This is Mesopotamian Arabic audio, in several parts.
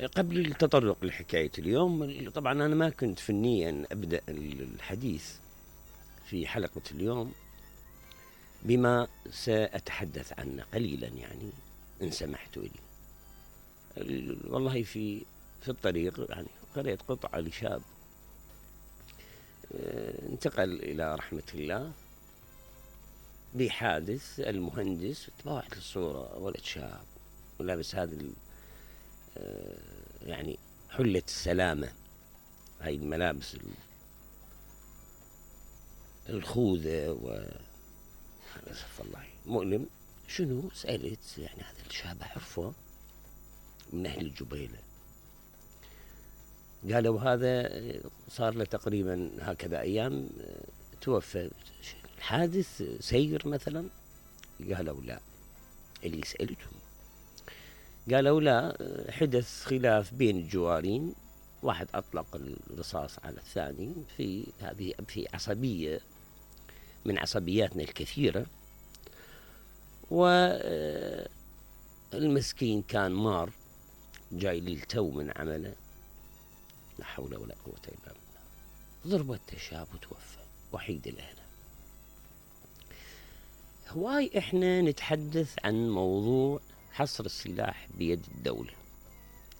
قبل التطرق لحكاية اليوم، طبعا أنا ما كنت فنيا أبدأ الحديث في حلقة اليوم بما سأتحدث عنه قليلا، يعني إن سمحتوا لي. والله في الطريق يعني قرأت قطعة لشاب انتقل إلى رحمة الله بحادث. المهندس تباعت الصورة، ولد شاب ولابس هذا يعني حلة السلامة، هاي الملابس الخوذة أسف الله مؤلم. شنو سألت؟ يعني هذا الشاب أعرفه من أهل الجبيلة. قالوا هذا صار له تقريبا هكذا أيام توفى. الحادث سير مثلا؟ قالوا لا. اللي سألتهم قالوا لا، حدث خلاف بين الجوارين، واحد أطلق الرصاص على الثاني في عصبية من عصبياتنا الكثيرة، والمسكين كان مار جاي للتو من عمله، لا حول ولا قوة إلا بالله، ضربت الشاب وتوفى وحيد الأهل. هواي إحنا نتحدث عن موضوع حصر السلاح بيد الدولة،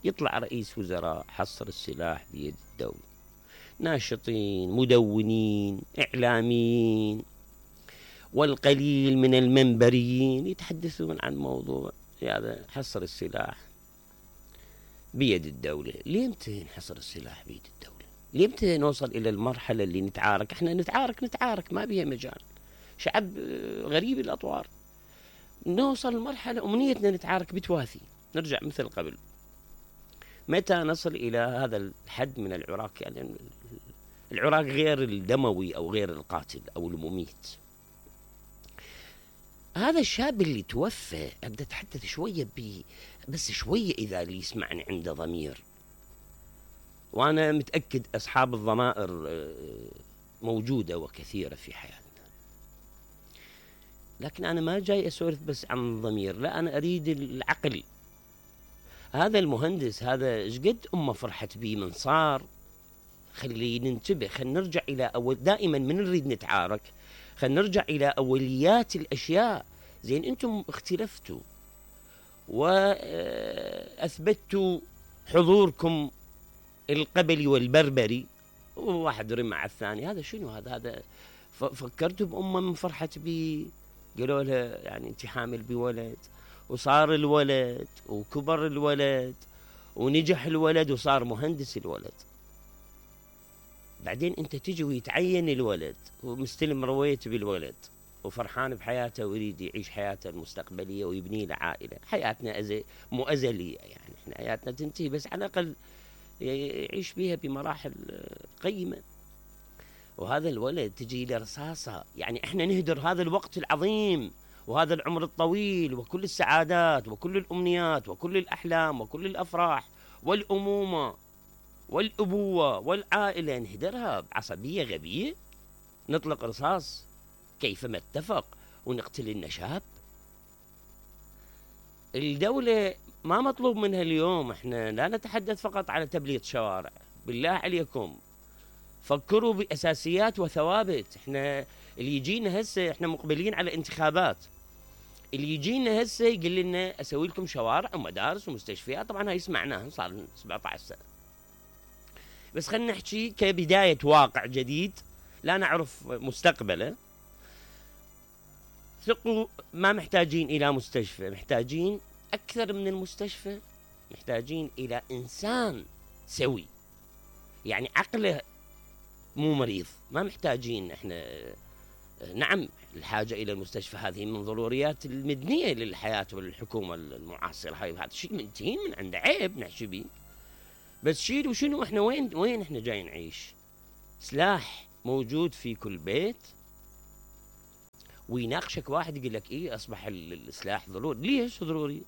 يطلع رئيس وزراء حصر السلاح بيد الدولة، ناشطين مدونين إعلاميين والقليل من المنبريين يتحدثون عن موضوع هذا حصر السلاح بيد الدولة. ليمتى نحصر السلاح بيد الدولة؟ ليمتى نوصل إلى المرحلة اللي نتعارك؟ احنا نتعارك ما بيها مجال، شعب غريب الأطوار. نوصل لمرحلة أمنيتنا نتعارك بتواثي، نرجع مثل قبل. متى نصل إلى هذا الحد من العراك؟ يعني العراك غير الدموي أو غير القاتل أو المميت. هذا الشاب اللي توفى أبدأ أتحدث شوية بس شوية إذا اللي يسمعني عنده ضمير، وأنا متأكد أصحاب الضمائر موجودة وكثيرة في حياتنا، لكن أنا ما جاي أسولف بس عن الضمير، لا، أنا أريد العقل. هذا المهندس هذا إيش قد أمه فرحت بيه من صار. خلي ننتبه، خلينا نرجع إلى دائما من نريد نتعارك خلينا نرجع إلى أوليات الأشياء. زين، أنتم اختلفتوا وأثبتوا حضوركم القبلي والبربري، وواحد رمى على الثاني. هذا شنو؟ هذا فكرتوا بأمه من فرحت بيه، قالوا لها يعني أنت حامل بولد، وصار الولد وكبر الولد ونجح الولد وصار مهندس الولد. بعدين أنت تجي ويتعين الولد ومستلم رويت بالولد وفرحان بحياته ويريد يعيش حياته المستقبلية ويبني له عائلة. حياتنا مو أزلية، يعني احنا حياتنا تنتهي، بس على الأقل يعيش بيها بمراحل قيمة. وهذا الولد تجي له رصاصة، يعني احنا نهدر هذا الوقت العظيم وهذا العمر الطويل وكل السعادات وكل الأمنيات وكل الأحلام وكل الأفراح والأمومة والأبوة والعائلة، نهدرها بعصبية غبية، نطلق رصاص كيفما اتفق ونقتل النشاب. الدولة ما مطلوب منها اليوم، احنا لا نتحدث فقط على تبليط شوارع، بالله عليكم فكروا بأساسيات وثوابت. احنا اللي يجينا هسه، احنا مقبلين على انتخابات، اللي يجينا هسه يقول لنا اسوي لكم شوارع ومدارس ومستشفيات، طبعا هاي سمعناها صار 17 سنة، بس خلينا نحكي كبداية واقع جديد لا نعرف مستقبله. ثقوا، ما محتاجين إلى مستشفى، محتاجين أكثر من المستشفى، محتاجين إلى إنسان سوي، يعني عقله مو مريض. ما محتاجين احنا، نعم الحاجة إلى المستشفى هذه من ضروريات المدنية للحياة وللحكومة المعاصرة، هاي هذا شيء منتهين من عنده، عيب نحكي بيه. بس شيل وشنو احنا وين احنا جاي نعيش؟ سلاح موجود في كل بيت، ويناقشك واحد يقول لك ايه اصبح السلاح ضروري. ليش ضروري؟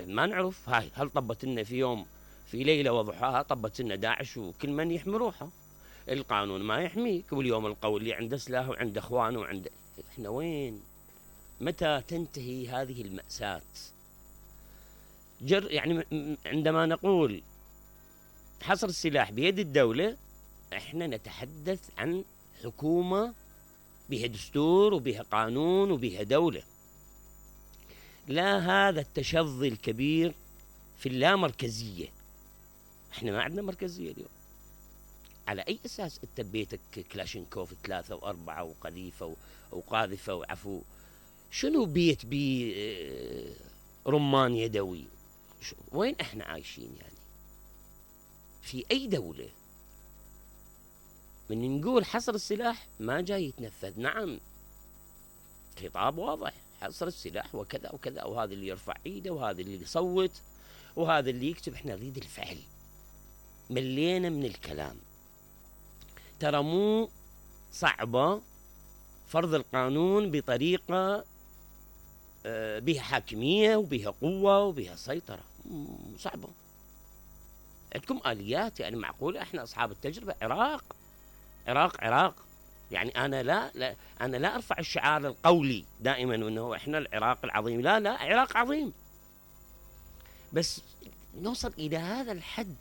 ما نعرف. هاي هل طبت لنا في يوم في ليلة وضحاها طبت لنا داعش وكل من يحمي روحه؟ القانون ما يحميك، واليوم القول اللي عنده سلاح وعنده اخوانه وعنده. احنا وين؟ متى تنتهي هذه المأساة؟ يعني عندما نقول حصر السلاح بيد الدولة، احنا نتحدث عن حكومة بها دستور وبها قانون وبها دولة، لا هذا التشظي الكبير في اللامركزية. احنا ما عندنا مركزية اليوم. على اي اساس انت ببيتك كلاشينكوف 3 و4 وقذيفة وقاذفة وعفو؟ شنو بيت بي رمان يدوي؟ وين احنا عايشين يعني؟ في اي دولة من نقول حصر السلاح ما جاي يتنفذ؟ نعم، خطاب واضح، حصر السلاح وكذا وكذا، وهذا اللي يرفع ايده وهذا اللي يصوت وهذا اللي يكتب. احنا نريد الفعل، ملينا من الكلام. ترى مو صعبة فرض القانون بطريقة بها حاكمية وبها قوة وبها سيطرة، صعبة. عندكم آليات يعني معقولة؟ احنا أصحاب التجربة. عراق يعني أنا لا أرفع الشعار القولي دائما أنه احنا العراق العظيم، لا عراق عظيم، بس نوصل إلى هذا الحد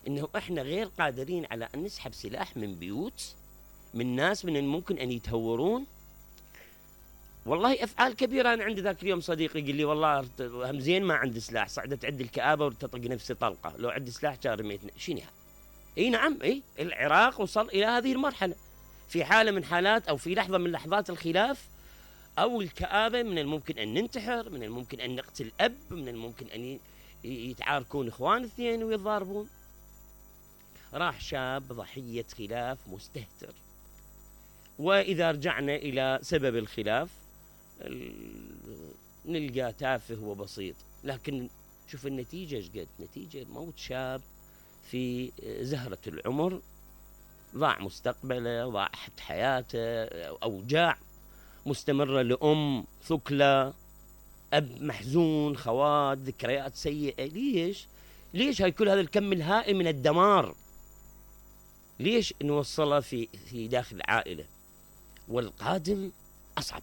أنه احنا غير قادرين على أن نسحب سلاح من بيوت، من ناس من الممكن أن يتهورون. والله أفعال كبيرة. أنا عندي ذاك اليوم صديقي يقول لي والله همزين ما عندي سلاح، صعدت عندي الكآبة وتطق نفسي طلقة، لو عندي سلاح كان رميتني. شنو هذا؟ اي نعم، العراق وصل إلى هذه المرحلة. في حالة من حالات أو في لحظة من لحظات الخلاف أو الكآبة من الممكن أن ننتحر، من الممكن أن نقتل أب، من الممكن أن يتعاركون إخوان اثنين ويتضاربون. راح شاب ضحية خلاف مستهتر. وإذا رجعنا إلى سبب الخلاف نلقى تافه وبسيط، لكن شوف النتيجة شقد نتيجة موت شاب في زهرة العمر، ضاع مستقبله، ضاعت حياته، أوجاع مستمرة لأم ثكلى، أب محزون، خوات، ذكريات سيئة. ليش هاي كل هذا الكم الهائل من الدمار؟ ليش نوصله في داخل العائلة؟ والقادم أصعب.